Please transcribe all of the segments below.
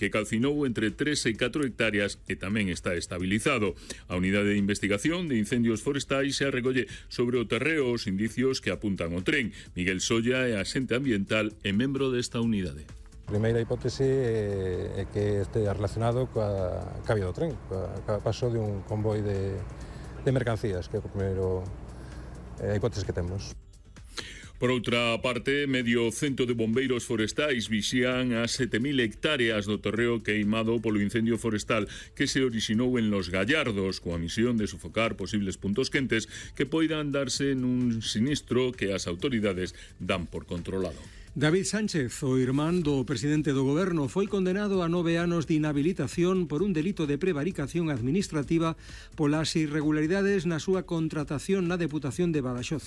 que calcinou entre 3 e 4 hectáreas e tamén está estabilizado. A unidade de investigación de incendios forestais xa recolle sobre o terreo os indicios que apuntan ao tren. Miguel Solla é axente ambiental e membro desta unidade. A primeira hipótese é que este relacionado coa vía do tren, coa paso de un convoi de mercancías, que é a primeira hipótese que temos. Por outra parte, medio cento de bombeiros forestais vixían as 7.000 hectáreas do terreo queimado polo incendio forestal que se orixinou en Los Gallardos, coa misión de sofocar posibles puntos quentes que poidan darse nun sinistro que as autoridades dan por controlado. David Sánchez, o irmán do presidente do goberno, foi condenado a 9 anos de inhabilitación por un delito de prevaricación administrativa polas irregularidades na súa contratación na Deputación de Badaxoz.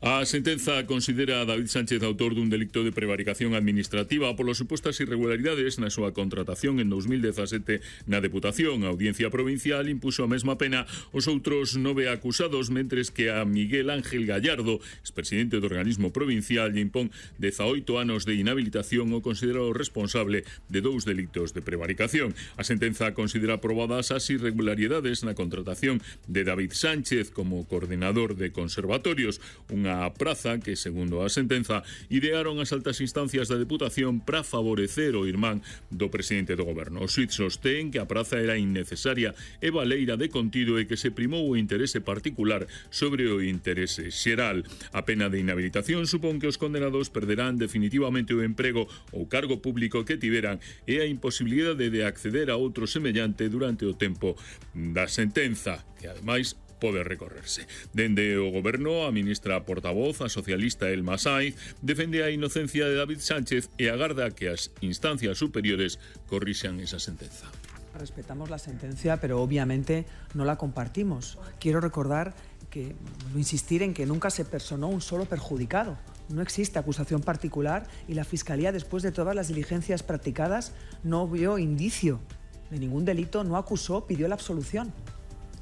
A sentenza considera a David Sánchez autor dun delicto de prevaricación administrativa polas supostas irregularidades na súa contratación en 2017 na Deputación. A Audiencia Provincial impuxo a mesma pena aos outros 9 acusados, mentres que a Miguel Ángel Gallardo, expresidente do organismo provincial, lle impón 18 anos de inhabilitación o considera o responsable de 2 delitos de prevaricación. A sentenza considera aprobadas as irregularidades na contratación de David Sánchez como coordenador de conservatorios, unha praza que, segundo a sentenza, idearon as altas instancias da Deputación para favorecer o irmán do presidente do goberno. O xuíz sostén que a praza era innecesaria e baleira de contido e que se primou o interese particular sobre o interese xeral. A pena de inhabilitación supón que os condenados perderán definitivamente o emprego ou cargo público que tiveran e a imposibilidade de acceder a outro semellante durante o tempo da sentenza, que ademais pode recorrerse. Dende o goberno, a ministra portavoz, a socialista Elma Saiz, defende a inocencia de David Sánchez e agarda que as instancias superiores corrixan esa sentenza. Respetamos la sentencia, pero obviamente no la compartimos. Quiero recordar que, insistir en que nunca se personó un solo perjudicado. No existe acusación particular y la Fiscalía, después de todas las diligencias practicadas, no vio indicio de ningún delito, no acusó, pidió la absolución.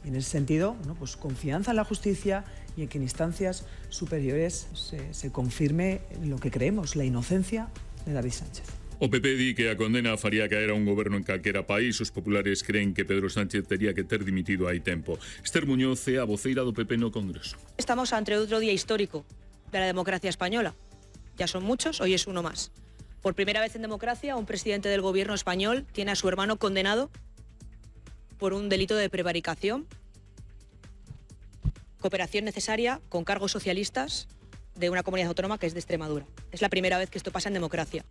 Y en ese sentido, pues confianza en la justicia y en que en instancias superiores se confirme lo que creemos, la inocencia de David Sánchez. O PP di que a condena faría caer a un goberno en calquera país. Os populares creen que Pedro Sánchez tería que ter dimitido hai tempo. Esther Muñoz é a voceira do PP no Congreso. Estamos ante outro día histórico de la democracia española. Ya son muchos, hoy es uno más. Por primera vez en democracia, un presidente del gobierno español tiene a su hermano condenado por un delito de prevaricación, cooperación necesaria con cargos socialistas de una comunidad autónoma que es de Extremadura. Es la primera vez que esto pasa en democracia.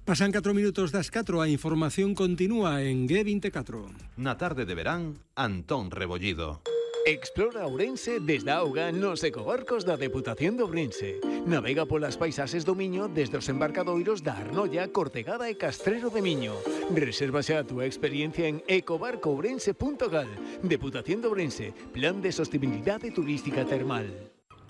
Pasan 4 minutos das 4, a información continúa en G24. Na tarde de verán, Antón Rebollido. Explora Ourense desde a auga nos ecobarcos da Deputación de Ourense. Navega polas paisaxes do Miño desde os embarcadoiros da Arnolla, Cortegada e Castrero de Miño. Reserva xa a túa experiencia en ecobarcoourense.gal. Deputación de Ourense, Plan de Sostenibilidade Turística Termal.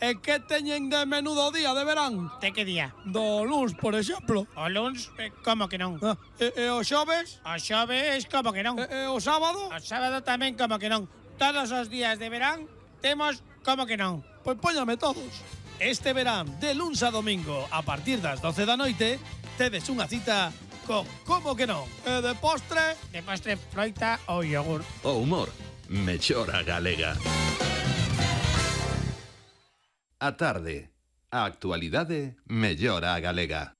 E que teñen de menudo día de verán? De que día? Do luns, por exemplo. O luns, como que non? E o xoves? O xoves, como que non? E o sábado? O sábado tamén, como que non? Todos os días de verán temos como que non. Pois póñame todos. Este verán, de luns a domingo, a partir das 12 da noite, tedes unha cita con como que non. E de postre? De postre, froita ou yogur. O humor, mellora galega. A tarde, a actualidade mellora galega.